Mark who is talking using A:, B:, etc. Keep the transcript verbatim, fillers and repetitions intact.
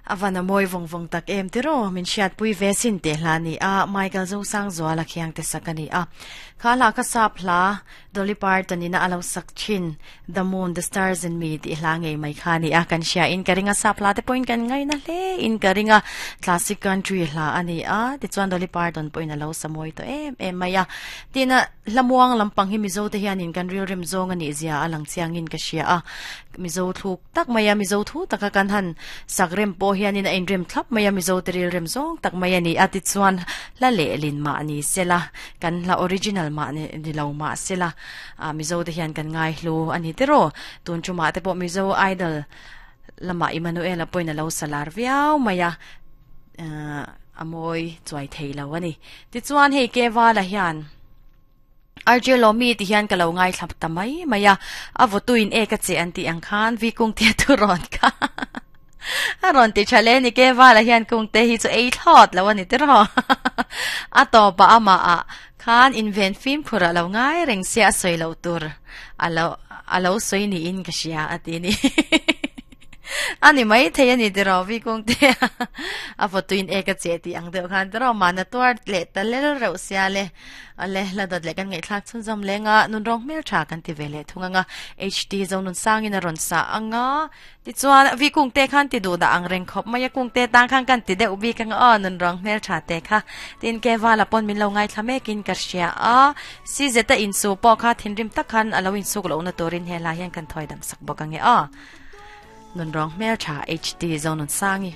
A: Avana moi vong vong tak em tiro min siat pui ve sin te hla ni a Michael zo sang zuala khiang te sakani a khala ka sap hla Dolly Parton ina alo sak chin The Moon The Stars and Me ti hla ngei mai kha ni a kan sia in karinga sap hla te point kan ngai na hle in karinga classic country hla ani a ti chuan Dolly Parton point alo samoi to em em maya tina lamuang lampang hi mizo te hian in kan ril rem zong ani zia alang chiang in ka sia a mizo thuk tak maya mizo thu taka kan han sakrem po hian in a in rem thlap maya mizo te ril rem zong tak maya ni ati chuan la le lin ma ani sela kan la original ma ni ni lo ma sela a mizo te hian kan ngai hlu ani tero tun chuma te po mizo idol lama Emmanuel poina lo salar viau maya amoi chuai thei lo ani ti chuan hei ke wala hian R J Lomi ti hian ka lo ngai thlap tamai maya avotuin e ka che an ti ang khan vi kung te tu ron ka aron ti chale ni ke wala hian kung te hi chu ei thot lo ani te ro a to pa ama a khan invent film phura lo ngai reng sia soi lo tur alo alo soi ni in ka sia ati ni ani mai thei ani te ro vi kung te a fotuin e ka che ti ang deuh khan te ro mana tuar le ta le ro sia le ale la dot le kan ngai thlak chun zam lenga nun rong mel tha kan ti vele thunga nga H D zo nun sangin a ron sa anga ti chuan vi kung te khan ti du da ang reng khop maya kung te tang khan kan ti deuh bi kang a nun rong mel tha te kha tin ke wala pon min lo ngai thlame kin ka sia a si zeta in su po kha thinrim tak khan alo in suk lo na torin hela hian kan thoi dam sak bok ange a nun rong mel tha H D zo nun sangi.